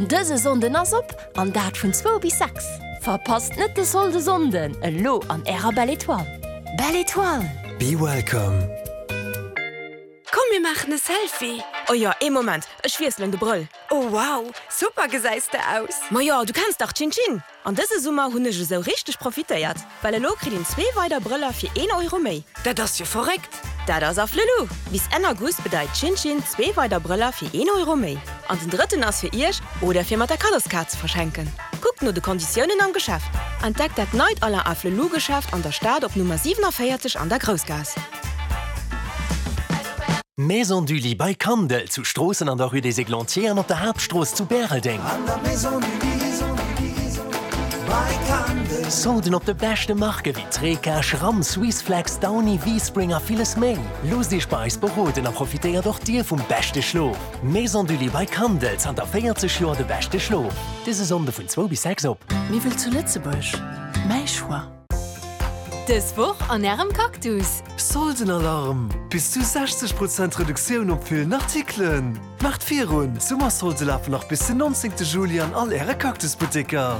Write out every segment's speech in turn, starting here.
Dëse Sonnden ass op, an dat vun zwou bis 6. Verpasst net de Solde Sonnden, elo an ärer Belle Etoile. Belle Etoile! Be welcome. Komm mir maachen e Selfie! Oh jo, ee Moment, ech wiesselen de Brëll. Oh wow, super gesäis de aus! Majo, du kenns dach Chin Chin! An dëse Summer hunn ech esou richteg profitéiert, well elo kritt een zwee weider Brëller fir een Euro méi. Dat ass jo verréckt! Dat ass Afflelou! Bis Enn August bedeit Chin Chin zwee weider Brëller fir een Euro méi. An den drëtten ass fir iech oder fir mat der Kaddoskaart ze verschenken. Kuckt no de Konditiounen am Geschäft. Entdeckt dat neit Alain Afflelou Geschäft an der Stad op Nummer 47 an der Groussgaass. Maison du Lit bei Kandel, zu Stroossen an der Rue des Églantiers an op der Haaptstrooss zu Bäreldeng. Solden op de beschte Marke wéi Treca, Schramm, Swissflex, Downy, V-Spring a villes méi. Loosst Iech bei eis beroden a profitéiert och Dir vum beschte Schlof. Maison du Lit bei Kandel, zanter 40 Joer de beschte Schlof. Dëse Sonnde vun zwou bis 6 op. Miwwel zu Lëtzebuerg, mäi Choix. Dës Woch an Ärem Cactus! Soldenalarm! Bis zu 60 Prozent Reduktioun op villen Artikelen! Maacht virun! D'Summersolde lafen nach bis den 19 Juli an all Äre Cactus-Butteker!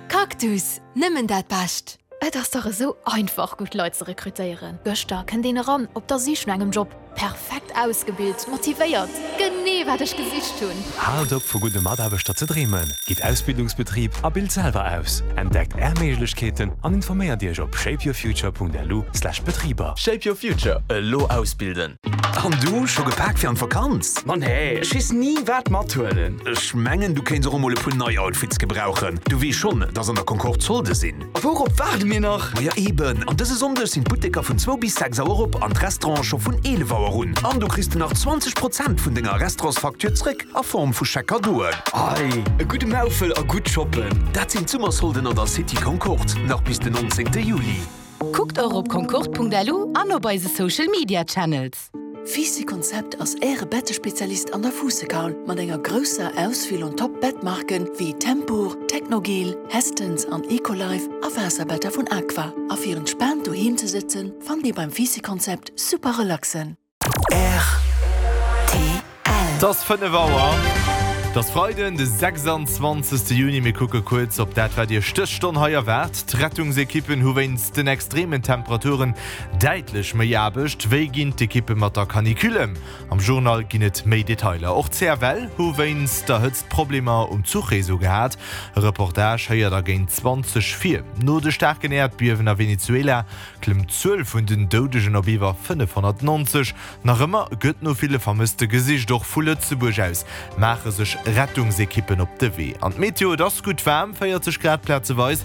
Cactus, nëmmen dat Bescht! Et ass dach esou einfach gutt Leit ze rekrutéieren. Gëschter kënnt een eran op der Sich no engem Job. Perfekt ausgebilt, motivéiert, genee wat ech gesicht hunn! Haalt op vu gudde Mataarbechter ze dreemen, gitt Ausbildungsbetrib a bilt selwer aus. Entdeckt Är Méiglechkeeten an informéiert Iech op shapeyourfuture.lu/betriber. Shape your future, elo ausbilden! An du, scho gepaakt fir an d'Vakanz? Ma nee, ech weess ni wat mathuelen. Ech mengen du kéints och emol e puer nei Outfits gebrauchen. Du weess schonn, dass an der Concorde Solde sinn. A wourop waarde mir nach? Maja eben, an dëse Sonndeg sinn d'Butteker vun zwou bis 6 Auer op an d'Restaurante scho vun 11 Auer un. An du kriss de nach 20 Prozent vun denger Restaurantsfacture zréck a Form vu Chèque-Cadeauen. Ei, e gudde Maufel a gutt shoppen! Dat sinn d'Summersolden an der City Concorde, nach bis den 19 Juli. Kuckt och op concorde.lu an op eise Social Media Channels. Fisi Konzept ass Äre Bettespezialist an der Fuussekaul mat enger grousser Auswiel un top Bettmarken wéi Tempur, Technogel, Hästens an Ecolife a Waasserbetter vun Aqua. A fir entspaant doheem ze sëtzen, fannt Dir beim Fisi Konzept super relaxen. Rtl. Et ass 5 Auer. Et ass Freiden, de 26. Juni. Mir kucke kuerz op dat, wat Iech dës Stonn hei erwaart. D'Rettungsekippen hu wéinst den extremen Temperaturen Däitlech méi Aarbecht. Wéi ginn d'Ekippe mat der Canicule ëm? Am Journal ginn et méi Detailer. Och d'CFL hu wéinst der Hëtzt Problemer um Zuchreseau gehat. E Reportage héiert der géint 20 vir. No de staarken Äerdbiewen a Venezuela klëmmt d'Zuel vun den Doudegen op iwwer 590. Nach ëmmer gëtt no ville Vermësste gesicht. Och vu Lëtzebuerg aus maache sech Rettungsekippen op de Wee. An d'Meteo, et ass gutt waarm, 40 Grad plazeweis.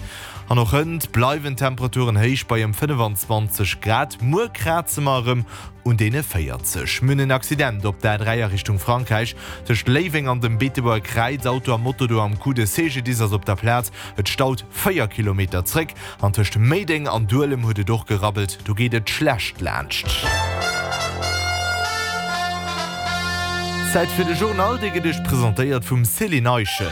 An och hënt bleiwen d'Temperaturen héich bei ëm 25 Grad. Muer kraze mer erëm un deene 40. Mir hunn en Accident op der A3 a Richtung Frankräich tëscht Léiweng an dem Beetebuerger Kräiz. Auto a Moto do am Coup. De CGDIS ass op der Plaz. Et staut 4 Kilometer zréck. An tëscht Méideng an Duelem huet et och gerabbelt. Do geet et schlecht laanscht. Zäit fir de Journal, dee gëtt Iech presentéiert vum Céline Eischen.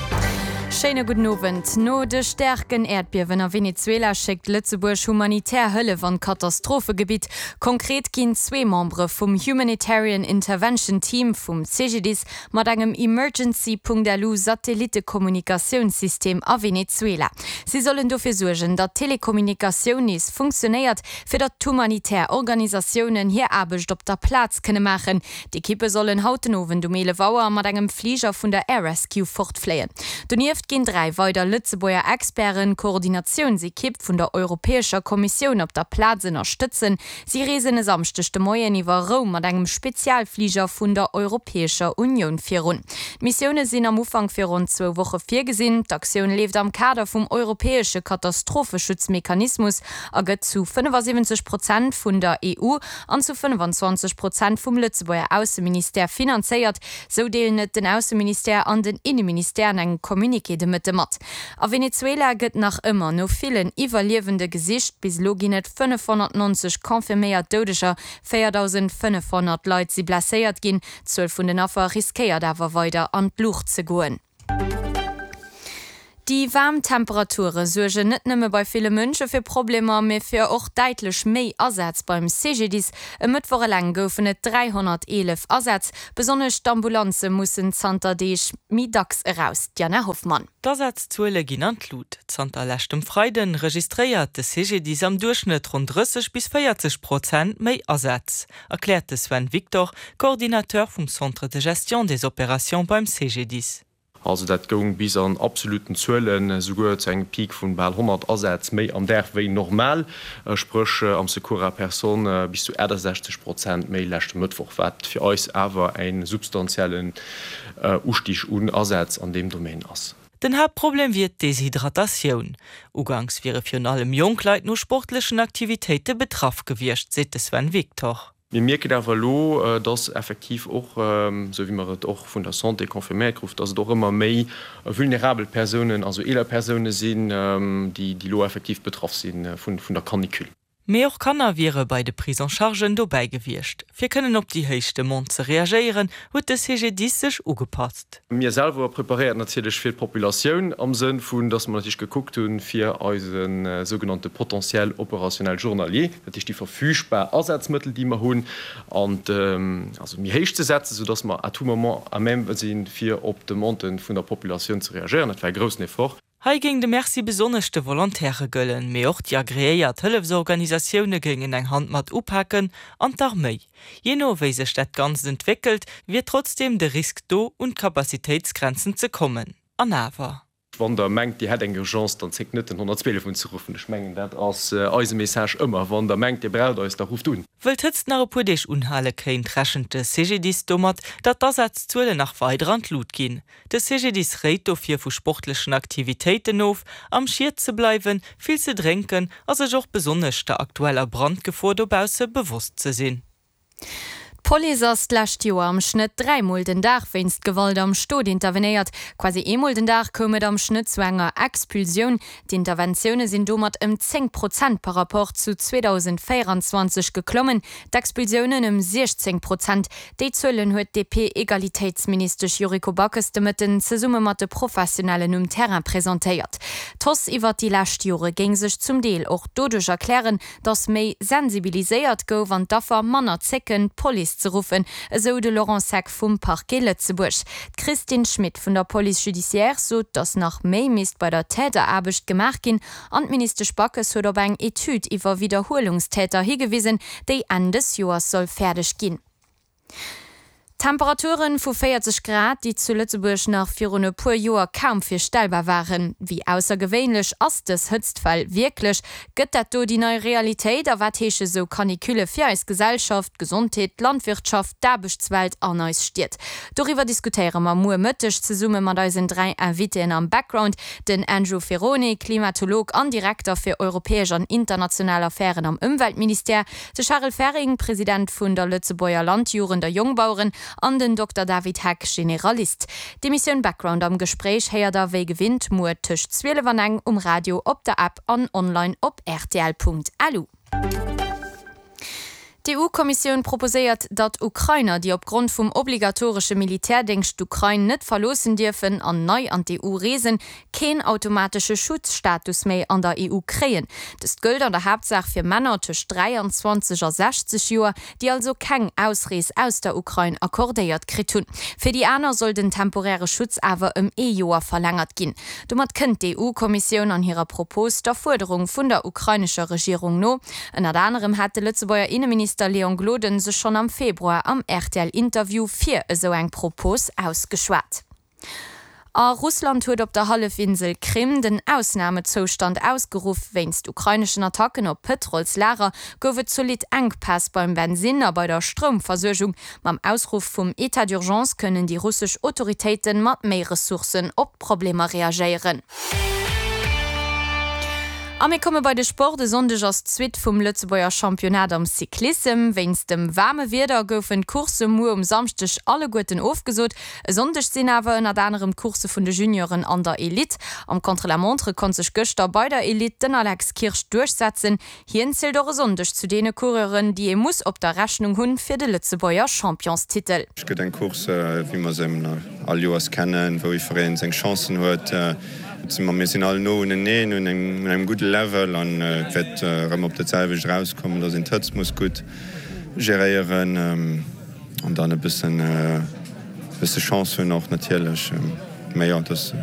Schéine gudden Owend. No de staarken Äerdbiewen a Venezuela schéckt Lëtzebuerg humanitär Hëllef an d'Katastrophegebitt. Konkret ginn zwee Membere vum Humanitarian Intervention Team vum CGDIS mat engem Emergency.lu Satellittekommunikatiounssystem a Venezuela. Si sollen dofir suergen, datt d'Telekommunikatioun nees funktionéiert, fir datt d'humanitär Organisatiounen hir Aarbecht op der Plaz kënne maachen. D'Ekippe sollen haut den Owend um 11 Auer mat engem Fliger vun der Air Rescue fortfléien. Donieft ginn 3 weider Lëtzebuerger Experten d'Koordinatiounsekipp vun der Europäescher Kommissioun op der Plaz ënnerstëtzen. Si reesen e Samschdeg de Moien iwwer Roum mat engem Spezialfliger vun der Europäescher Unioun virun. D'Missioune sinn am Ufank fir ronn zwou Woche virgesinn. D'Aktioun leeft am Kader vum europäesche Katastropheschutzmechanismus a gëtt zu 75 Prozent vun der EU an zu 25 Prozent vum Lëtzebuerger Ausseministère finanzéiert, sou deelen et den Ausseministère an den Inneministère an engem Communiqué de Mëtte mat. A Venezuela gëtt nach ëmmer no villen Iwwerliewende gesicht. Bis elo ginn et 590 confirméiert Doudeger, 4.500 Leit si blesséiert ginn. D'Zuel vun den Affer riskéiert awer weider an d'Luucht ze goen. Déi waarm Temperature suergen net nëmme bei ville Mënsche fir Problemer, mee fir och däitlech méi Asätz beim CGDIS. E Mëttwoch eleng goufen et 311 Asätz. Besonnesch d'Ambulanze mussen zanter Deeg méi dacks eraus. D'Diana Hoffmann. D'Asazzuele ginn an d'Lut. Zanter leschtem Freiden registréiert de CGDIS am Duerchschnëtt ronn 30 bis 40 Prozent méi Asätz, erkläert de Sven Victor, Coordinateur vum Centre de gestion des opérations beim CGDIS. Also dat goung bis an absoluten Zuelen esouguer zu engem Peak vun bal 100 Asätz méi am Dag wéi normal, spréch am Secours à personne bis zu 68 Prozent méi leschte Mëttwoch, wat fir eis awer e substantiellen Ustig un Asätz an deem Domaine ass. Den Haaptproblem wier d'Deshydratatioun. Uganks wiere virun allem jonk Leit no sportlechen Aktivitéite betraff gewiescht, seet de Sven Victor. Mir mierken awer elo, dass effektiv och, esou wéi mer et och vun der Santé confirméiert kruf, dass et och ëmmer méi vulnerabel Persounen, also eeler Persounen sinn, déi elo effektiv betraff si vun der Canicule. Mee och Kanner wiere bei de Prise-en-chargen dobäi gewiescht. Fir kënnen op déi héich Demande ze reagéieren, huet de CGDIS sech ugepasst. Mir selwer preparéiert natierlech fir d'Populatioun am Sënn vun, dass mer natierlech gekuckt hunn, fir eise sougenannte Potentiel opérationnel journalier, dat heescht déi verfügbar Asazmëttel, déi mer hunn, an also méi héich ze setzen, soudass mer à tout moment à même sinn, fir op d'Demande vun der Populatioun ze reagéieren. Dat war e groussen Effort. Hei géing de Merci besonnesch de Volontairë gëllen, mee och déi agreéiert Hëllefsorganisatioune géingen eng Hand mat upaken an d'Arméi. Jee no wéi sech dat Ganzt entwéckelt, wier trotzdeem de Risk do, un d'Capacitéitsgrenzen ze kommen. An awer. Wann der mengt, Dir hätt eng Urgence, dann zéckt net den 112 unzeruffen. Ech mengen, dat ass eise Message ëmmer, Wann der mengt, Dir braucht eis, da rufft un. Wëll d'Hëtzt nach e puer Deeg unhale kéint, rechent de CGDIS domat, datt d'Asazzuelen nach weider an d'Lut ginn. De CGDIS réit dofir vu sportlechen Aktivitéiten of, am Schiet ze bleiwen, vill ze drénken a sech och besonnesch der aktueller Brandgefor dobausse bewosst ze sinn. D'Police ass d'lescht Joer am Schnëtt 3 Mol den Dag wéinst Gewalt am Stot intervenéiert. Quasi eemol den Dag koum et am Schnëtt zu enger Expulsioun. D'Interventioune sinn domat ëm 10 Prozent par Rapport zu 2024 geklommen, d'Expulsiounen ëm 16 Prozent. Déi Zuelen huet d'DP-Egalitéitsministesch Yuriko Backes de Mëtten zesumme mat de Professionellen um Terrain presentéiert. D'Hausse iwwert déi lescht Jore géing sech zum Deel och doduerch erklären, datt méi sensibiliséiert gouf an d'Affer manner zécken, d'Police ze ruffen, esou de Laurent Seck vum Parquet Lëtzebuerg. D'Christine Schmit vun der Police judiciaire sot, datt nach méi misst bei der Täteraarbecht gemaach ginn an d'Ministesch Backes huet op eng Etüd iwwer Widderhuelungstäter higewisen, déi Enn des Joers soll fäerdeg ginn. Temperaturen vu 40 Grad, déi zu Lëtzebuerg nach virun e puer Joer kaum virstellbar waren. Wéi aussergewéinlech ass dës Hëtztwell wierklech? Gëtt dat do déi nei Realitéit? A wat heesche sou Canicule fir eis Gesellschaft, d'Gesondheet, d'Landwirtschaft, d'Aarbechtswelt an eis Stied? Doriwwer diskutéiere mer muer Mëtteg zesumme mat eisen 3 Invitéen am Background, den Andrew Ferrone, Klimatolog an Direkter fir europäesch an international Affären am Ëmweltministère, De Charel Ferring, President vun der Lëtzebuerger Landjugend a Jongbaueren an den Dokter David Heck, Generalist. D'Emissioun Background am Gespréich héiert der wéi gewinnt muer tëscht 12 an eng um Radio, op der App an online op rtl.lu. D'EU-Kommissioun proposéiert, datt Ukrainer, déi opgrond vum obligatoresche Militärdéngscht d'Ukrain net verloossen dierfen an nei an d'EU reesen, keen automatesche Schutzstatus méi an der EU kréien. Dëst gëllt an der Haaptsaach fir Männer tëscht 23 a 60 Joer, déi also keng Ausrees aus der Ukrain accordéiert kritt hunn. Fir déi aner soll den temporäre Schutz awer ëm ee Joer verlängert ginn. Domat kënnt d'EU-Kommissioun an hirer Propos der Fuerderung vun der ukrainescher Regierung no. Ënnert anerem hat de Lëtzebuerger Inneminister Léon Gloden sech schonn am Februar am RTL-Interview fir esou eng Propos ausgeschwat. A Russland huet op der Hallefinsel Krim den Ausnamezoustand ausgeruff. Wéinst ukraineschen Attacken op Pëtrolslager gouf et zolidd Enkpäss beim Bensinn a bei der Stroumversuergung. Mam Ausruff vum Etat d'urgence kënnen déi russesch Autoritéite mat méi Ressourcen op d'Problemer reagéieren. A mir komme bei de Sport. E Sonndeg ass d'Suite vum Lëtzebuerger Championnat am Cyclissem. Wéinst dem waarme Wieder goufen d'Coursse muer um Samschdeg alleguerten ofgesot. E Sonndeg sinn awer ënnert anerem d'Coursse vun de Junioren an der Elite. Am Contre-la-montre konnt sech gëschter bei der Elite den Alex Kirsch duerchsetzen. Hien zielt och e Sonndeg zu deene Coureuren, déi ee muss op der Rechnung hunn fir de Lëtzebuerger Championstitel. Et gëtt eng Course, wéi mer se all Joers kennen, wou jiddweree seng Chancen huet. Mir sinn all no uneneen, un engem gudde Level an et wäert erëm op dat selwecht erauskommen, dass een d'Hëtzt muss gutt geréieren an dann e bëssen Chance hunn och natierlech. Mä jo, dat si.